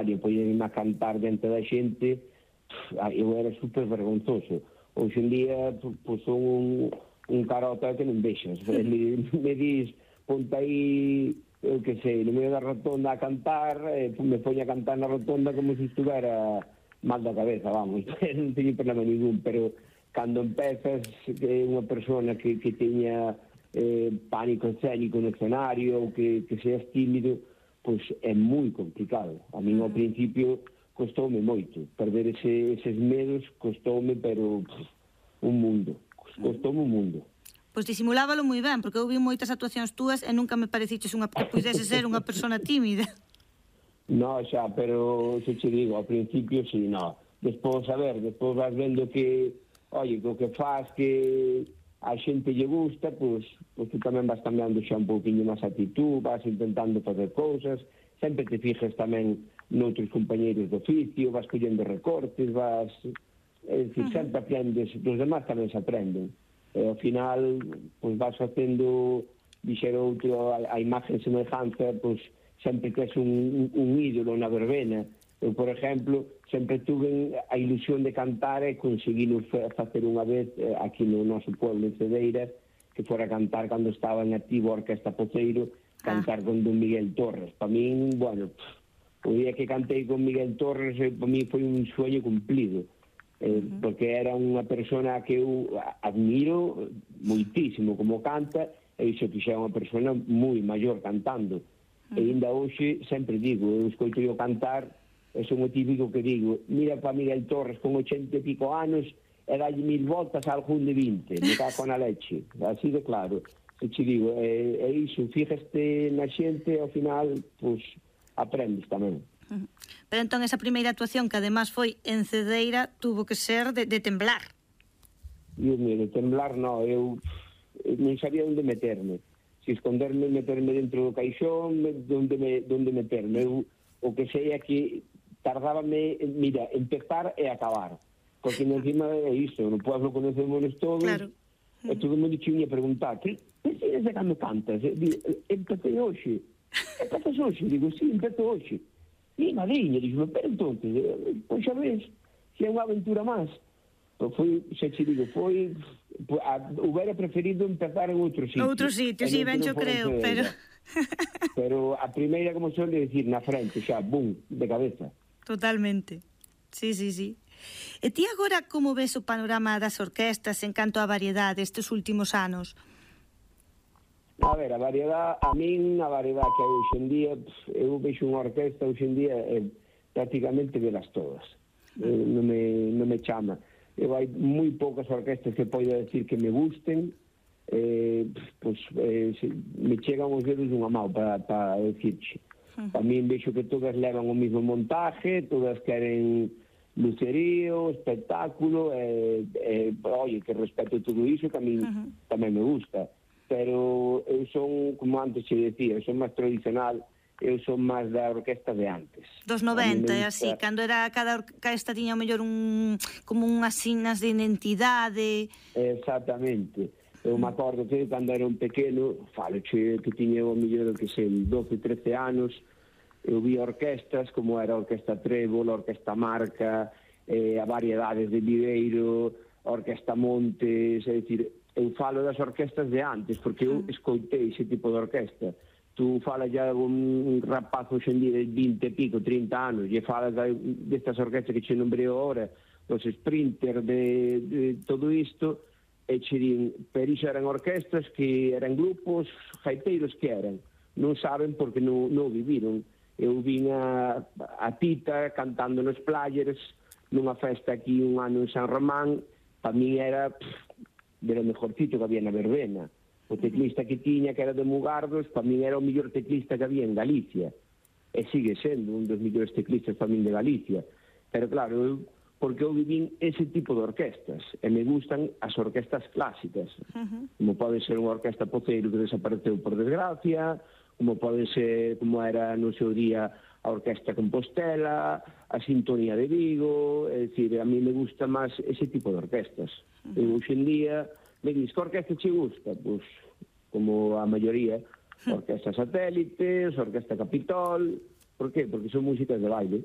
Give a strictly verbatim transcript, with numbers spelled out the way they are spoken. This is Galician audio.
escenario, poñerme a cantar dentro da xente, eu era super vergonzoso. Hoxe en día, pois son un, un carota que non vexas. Me, me dis, ponte aí, eu que sei, no medio da rotonda a cantar, eh, me poño a cantar na rotonda como se estuvera mal da cabeza, vamos, non teño problema ningún, pero cando empezas, que unha persona que, que teña eh, pánico escénico no escenario, ou que, que seas tímido, pois é moi complicado. A mí, ao principio, costoume moito. Perder ese, eses medos costoume, pero pff, un mundo. Costoume un mundo. Pois disimulábalo moi ben, porque eu vi moitas actuacións túas e nunca me pareciches unha que pudese ser unha persona tímida. No, xa, pero se che digo, ao principio, sí, no. Despois, a ver, despois vas vendo que, oye, que o que faz que a xente lle gusta, pois, pois tú tamén vas cambiando xa un pouquinho máis a actitud, vas intentando facer cousas, sempre te fijas tamén noutros compañeiros de oficio, vas collendo recortes, vas... É dicir, uh-huh. sempre aprendes, os demás tamén se aprenden. E ao final, pois vas facendo, dixer outro, a, a imagen semellanza, pois sempre que és un, un ídolo na verbena. Eu, por exemplo, sempre tuve a ilusión de cantar e conseguilo facer unha vez aquí no noso pueblo en Cedeira, que fora cantar cando estaba en activo a Orquesta Poceiro, cantar ah. con Don Miguel Torres. Para min, bueno, o día que cantei con Miguel Torres, para mí foi un sueño cumplido, eh, uh-huh. porque era unha persona que eu admiro moitísimo como canta, e iso que xa é unha persona moi maior cantando. Uh-huh. E ainda hoxe sempre digo, eu escoito eu cantar, e son o típico que digo, mira para Miguel Torres con ochenta e pico anos, e dalle mil voltas a algún de vinte, me cago na leche, así de claro. E te digo, é, é iso, fíjaste na xente, ao final, pois, aprendes tamén. Pero entón esa primeira actuación, que además foi en Cedeira, tuvo que ser de, de temblar. Dios mío, de temblar non, eu non sabía onde meterme. Se esconderme, meterme dentro do caixón, onde, me, onde meterme. Eu, o que sei é que tardábame, mira, empezar e acabar. Porque encima é iso, no pueblo conocemos todos, claro. E todo mundo te vinha preguntar, que enseñas a cando cantas? Empecé hoxe. Empezas hoxe? Digo, sí, empezo hoxe. E madriña, digo, pero entonces, pois xa ves, se é unha aventura máis. Foi, xa te digo, foi, hubiera preferido empezar en outro sitio. Outro sitio, sí, ben, yo creo, pero... Pero a primeira, como suele decir, na frente, xa, bum, de cabeza. Totalmente, sí, sí, sí. E ti agora como ves o panorama das orquestas en canto a variedade estes últimos anos? A ver, a variedade, a min a variedade que hai hoxe en día, eu vexo unha orquesta hoxe en día eh, prácticamente velas todas. Eh, non, me, non me chama. Eu hai moi poucas orquestas que poida decir que me gusten, eh, pues, eh, se, me chegan os dedos dunha mão para pa decirche. Para min vexo que todas levan o mismo montaje, todas queren lucerío, espectáculo, e, e, oye, que respeto todo iso, que a mí uh-huh. tamén me gusta. Pero eu son, como antes che decía, eu son máis tradicional, eu son máis da orquesta de antes. Dos noventa, e así, cando era cada orquesta tiña mellor un, como unhas signas de identidade. Exactamente. Eu me acordo que cando era un pequeno, falo che que tiña o mellor que sei, doce, trece anos, eu vi orquestas como era a Orquesta Trébol, a Orquesta Marca, eh, a variedades de Viveiro, a Orquesta Montes, é dicir, eu falo das orquestas de antes, porque eu escoitei ese tipo de orquesta. Tu falas ya un rapaz hoxe en día de vinte e pico, trinta anos, e falas destas orquestas que che nombreo ahora, dos Sprinter, de, de todo isto, e che din, per iso eran orquestas que eran grupos gaiteiros que eran. Non saben porque non, non viviron. Eu vin a, a Tita cantando nos Players nunha festa aquí un ano en San Román, para mí era pff, de lo mejorcito que había na verbena. O teclista que tiña, que era de Mugardos, para mí era o mellor teclista que había en Galicia, e sigue sendo un dos mellores teclistas para mí de Galicia. Pero claro, eu, porque eu vivín ese tipo de orquestas, e me gustan as orquestas clásicas, uh-huh. como pode ser unha orquesta Poceiro que desapareceu por desgracia, como pode ser, como era no seu día a Orquesta Compostela, a Sintonía de Vigo, é dicir, a mí me gusta máis ese tipo de orquestas. Uh-huh. E hoxe en día, me diz, que orquesta che gusta? Pois, como a maioría, Orquesta Satélites, Orquesta Capitol, por qué? Porque son músicas de baile.